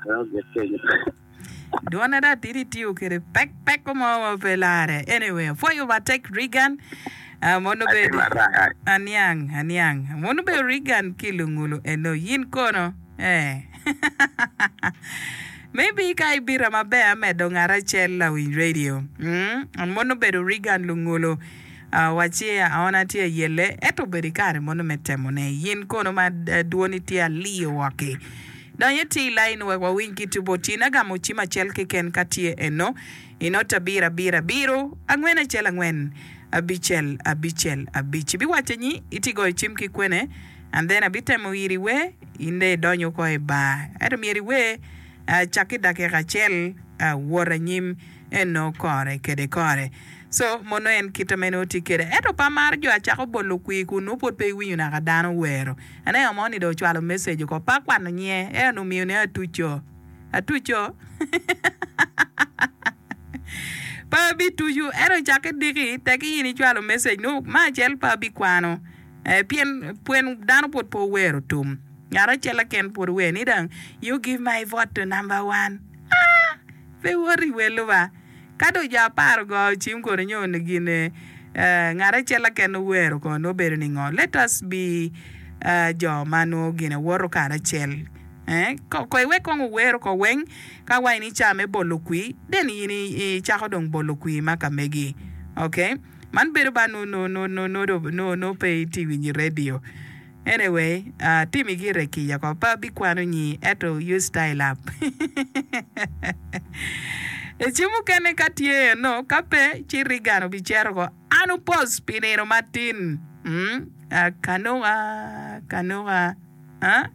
Wek ogik kenyo. Dwona dong atidi itiyo kwede pek peko mo ma pe lare. Anyway, apwoyo matek Reagan. Ah, mono Atye bedo marac. aniang aniang. Mono bedo Reagan ki lungulu eno yin kono. Eh. Maybe ka ibita maber amedo ngat acel lawiny radio. Mm, mono bedo Reagan lungulu. Ah, wacci aona tye ayelle ento obedo ikare mono me temone. Yin kono ma eh, dwoni tye aliyo woki. Dony iti i lain wek wawiny ki tubo tin agamo cim acel keken ka tye eno i not abiro abiro abiro angwen acel angwen abicel abicel abic. Ibiwaco nyi iti goyo cim ki kwene and then abitemo iri wer in dong idonyo oko i bar ento myero iwer cak i dakika acel wot anyim eno kore kede kore. So mono en kite ma en tye kede ento pe amaro jo acako bolo kwir kun nongo pwod pe iwinyo naka dano wero. Aneno mo ni dong ocwalo message oko pe akwano nyinge ento omiyo ne atuco. Atuco? Pe abituco ento cakke diki teki in icwalo message nongo me acel pe abikwano eh, pien pwen dano pwod pe owero tum. Ngat acel keken pwod ower ni dong you give my vote to number one. Ah! Pe iwoto i welo ba. Ka dong jo apar ogoyo cim kono nyo gin ngat acel keken owero kono nongo bedo ningo? Let us be jo ma nongo gine woto karacel. Ko iwek kong owero ko weng ka wa in ica me bolo kwir then in icako dong bolo kwir ma ka megi. Okay? Man bedo ba nongo pe itye winyo i radio. Anyway, atimi gire kica ko, pe abikwano nyi ento you style up. I ceng mukene ka tye eno, ka pe ci Reagan obicito ko an opos pi nino matin. Mm, kanuka, kanuka, ah.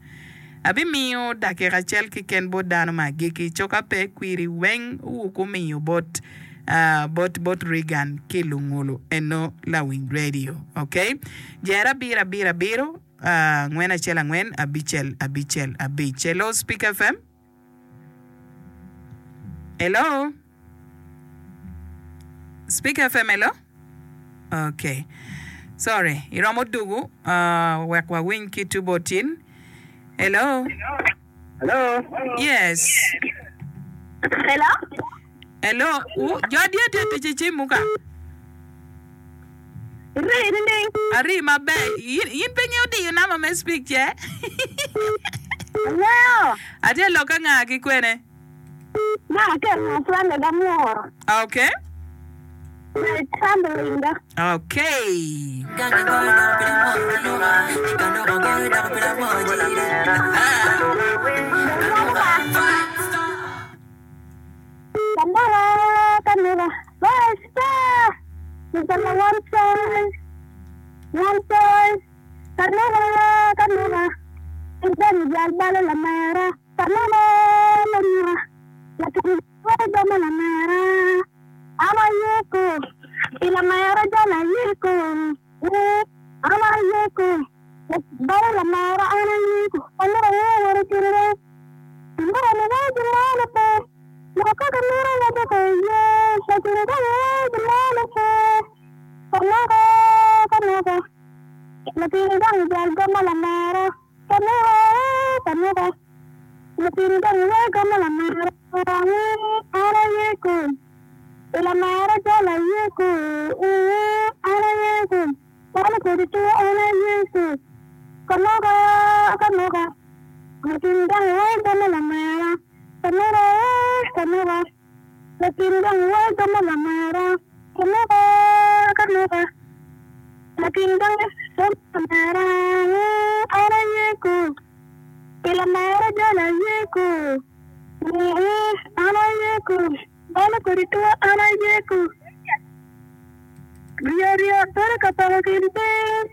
Abimiyo dakika acel keken bot dano ma agikki, co ka pe kwiri weng wukumiyo bot bot bot Reagan ki lungulu eno lawiny radio ok jer abiro abiro abiro angwen acel angwen abicel abicel abic hello speak fm hello speak fm hello ok sorry iromo dugu uh, wek wawiny ki tubo tin hello Hello. Yes. Hello. Hello. U, jo adi ati ati ci cimu ka? Iri nining? Ari maber. In, in pe ingeyo diyo namba me speak ce? Angeyo. Atye lok ka nga ki kwene? Ma aketo friend da muro. Okay. Okay. An ayeko pi lamera jal ayeko ooh An ayeko balo lamera an ayeko Amito ango wot ocurure Amito ni wai gin mo ne pe Lok ka gimito waco ko iye Lacen ka wai gin mo ne pe Kanaka kanaka Latin gang jal gamo lamera Kanuka, kanuka, latin gang wega ma lamara uu, an aye ku, i lamara jal aye ku, uu, an aye ku, calo kodi two an aye ku. Kanuka, kanuka, latin gang wega ma lamara, kanuka, kanuka, latin gang wega ma lamara, kanuka, kanuka. Latin gang lamera, an aye ku, pi lamera jal aye ku, an aye ku, balo kodi two an aye ku, ryo ryo bedo ka poko kin piny.